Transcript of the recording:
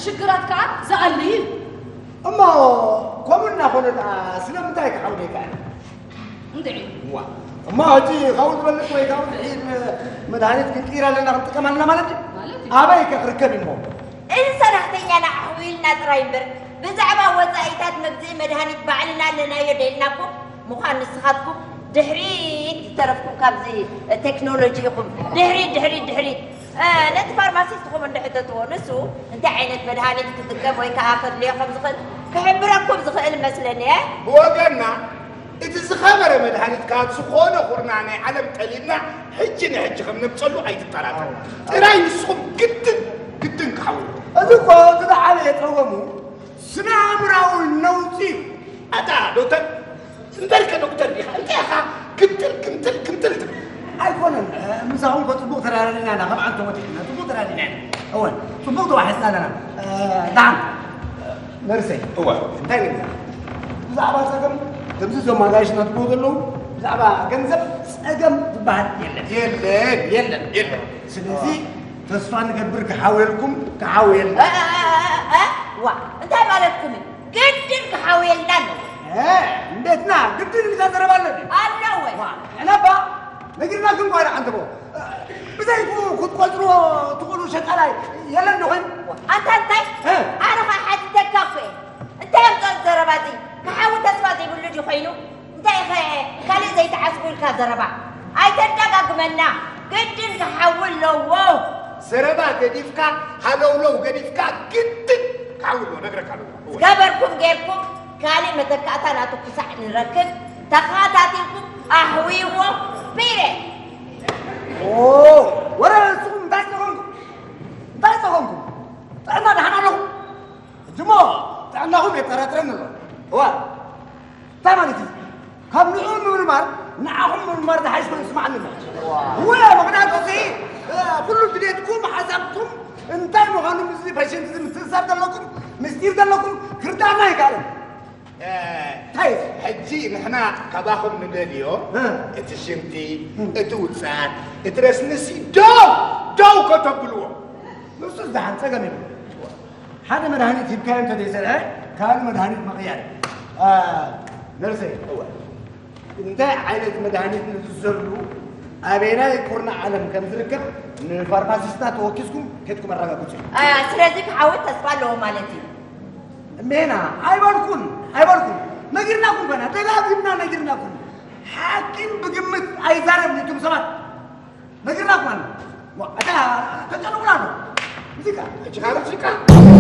ሽግራት ከዓ ዝኣሊ እዩ። እሞ ከምኡ እናኾነ ደኣ ስለምንታይ ክሓውል ይከኣል? እንድዒ እዋ እሞ ሕጂ ካብኡ ዝበልጽ ወይ ካብኡ ዝሒድ መድሃኒት ክንቅይር ኣለና ክንጥቀም ኣለና ማለት እዩ። ማለት እዩ። ኣበይ ከ ክርከብ እሞ? እዚ ሰራሕተኛና ኣሕዊልና ጥራይ እምበር ብዛዕባ ወፃኢታት መግዝኢ መድሃኒት ባዕልና ኣለናዮ ደልናኩም ምዃን ንስኻትኩም ድሕሪት ዝተረፍኩም ካብዚ ቴክኖሎጂ ኢኹም። ድሕሪት ድሕሪት ድሕሪት እ፣ ነቲ ፋርማሲስትኹም እንድሕተትዎ ንሱ እንታይ ዓይነት መድሃኒት ክጥቀም ወይ ከዓ ከድልዮ ከም ዝኽእል ክሕብረኩም ዝኽእል መስለኒ። እ? ብወገንና እቲ ዝኸበረ መድሃኒት ካብ ዝኾነ ኹርና ናይ ዓለም ጠሊብና ሕጂ ንሕጂ ከም ነምፀሉ ኣይትጠራጠሩ። ጥራይ ንስኹም ግድን ግድን ክሓውሩ። እዚ እኮ እቲ ዝዓበየ ፀገሙ ስነ ኣእምራዊ ነውፂ እዩ። ኣታ ዶክተር እምበርከ ዶክተር ዲኻ እንታይ ኢኻ ግምጥል ግምጥል ግምጥል ትብል? ኣይኮነን ምሳኹም እኮ ፅቡቕ ተራዳዲና ኢና ከም ዓንቶ ወዲሕና ፅቡቕ ተራዲና ኢና። እወን ፅቡቕ ተዋሒስና ኣለና። ዳሓን ነርሰይ እወ እንታይ ንብላ ብዛዕባ ፀገም ከምዚ እዞም ኣጋይሽና ትብሉ ዘለዉ ብዛዕባ ገንዘብ ፀገም ዝበሃል የለን። የለን የለን የለን። ስለዚ ተስፋ ንገብር ክሓውየልኩም ክሓውየልና። ዋ እንታይ ማለትኩም እዩ? ግድን ክሓውየልና ኣለዎ። እንዴትና ግድን ኢልካ ዘረባ ኣሎ ድዩ? ኣለዎ። ንሕና እባ ነጊርናኩም እኳ ኢና ዓንተቦ። ብዘይክኡ ክትቆፅርዎ ትኽእሉ ሸቃላይ የለን ዶ ኮይኑ? ኣንታ እንታይ? ኣነ ኸዓ ሓቲተካ እኮ እየ። እንታይ ኣምፅኦ ዘረባ እዚ? ክሓዊ ተስፋ ዘይብሉ ድዩ ኮይኑ? እንታይ ኢኸ ካልእ ዘይትዓስቡ ኢልካ ዘረባ ኣይተዳጋግመና። ግድን ክሓዊ ኣለዎ። ዘረባ ገዲፍካ ሃለውለው ገዲፍካ ግድን ክሓዊ ኣለዎ ነግረካ ኣለዎ። ዝገበርኩም ጌርኩም ካልእ መተካእታ ናቱ ክሳዕ ንረክብ ተኸታቲልኩም ኣሕውይዎ። ፒሬ ወረ ንስኹም እንታይ ጸገምኩም? እንታይ ጸገምኩም? ጥዕና ደሓን ኣለኹም? ሕጂ እሞ ጥዕናኹም የጠራጥረኒ ኣሎ። እዋ እንታይ ማለት እዩ? ካብ ንዕኡ ምምርማር ንዓኹም ምምርማር ዝሓይሽ ኮይኑ ይስማዓኒ ኣሎ። እወ ምኽንያቱ እዚ ኩሉ ድሌትኩም ሓሳብኩም እንታይ ምዃኑ ምስዚ ፔሸንት እዚ ምትእስሳር ዘለኩም ምስጢር ዘለኩም ክርዳእና ኣይከኣልን። እንታይ ሕጂ ንሕና ካባኹም ንደልዮ እቲ ሽንቲ እቲ ውፅኣት እቲ ረስንሲ ደው ደው ከተብልዎ። ንሱስ ደሓን ፀገም የብሉ። ሓደ መድሃኒት ሂብካዮ እንተዘይሰርሐ ካልእ መድሃኒት ምቕያር እዩ። ነርሰይ እንታይ ዓይነት መድሃኒት ንዝዘሉ ኣበየናይ ኩርናዕ ዓለም ከም ዝርከብ ንፋርማሲስትና ተወኪስኩም ከድኩም ኣረጋግፁ። ስለዚ ክዓወት ተስፋ ኣለዎ ማለት እዩ። ሜና ኣይበልኩን ኣይበልኩን ነጊርናኩም ኮና ደጋጊምና ነጊርናኩም። ሓኪም ብግምት ኣይዛረብን እቱም ሰባት ነጊርናኩም ኣለ። እታ ተጨንቁና ኣሎ ሙዚቃ ሕጂ ካብ ሙዚቃ